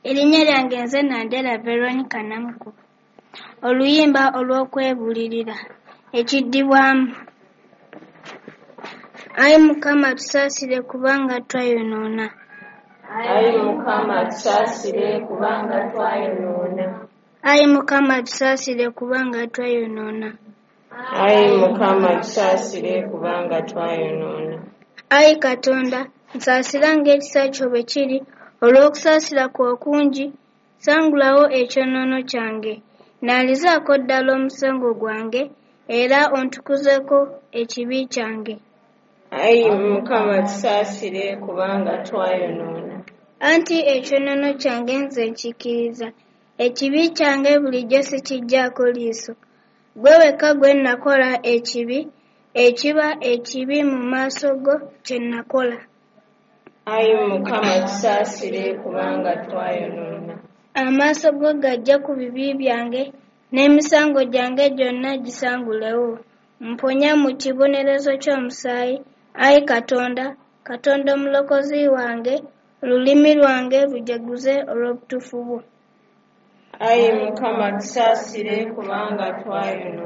Erinnya lyange nze Nandera Veronica Namukuba. Oluyimba olw'okwebuulirira. Ekiddibwamu. Ayi Mukama tusaasire kubanga twayonoona. Ayi Mukama tusaasire kubanga twayonoona. Ayi Mukama tusaasire kubanga twayonoona. Ayi Mukama tusaasire kubanga twayonoona. Ayi Katonda, nsaasira ng'ekisa kyo bwe kiri, olw'okusaasira kwo okungi, sangulawo ekyonoono kyange. Nnaalizaako ddala omusango gwange, era ontukuzeeko ekibi kyange. Ayi Mukama tusaasire kubanga twayonoona. Anti ekyonoono kyange nze nkikkiriza, ekibi kyange bulijjo sikiggyaako liiso. Ggwe wekka gwe nakola ekibi, ekiba ekibi mu maaso go kye nakola. Ayi Mukama tusaasire kubanga twayonoona. Amaaso go gaggye ku bibi byange, n'emisango gyange gyonna gisangulewo. Mponya mu kibonerezo ky'omusaayi, ayi Katonda, Katonda omulokozi wange, olulimi lwange lujaguze olw'obutuufu bwo. Ayi Mukama tusaasire kubanga twayonoona.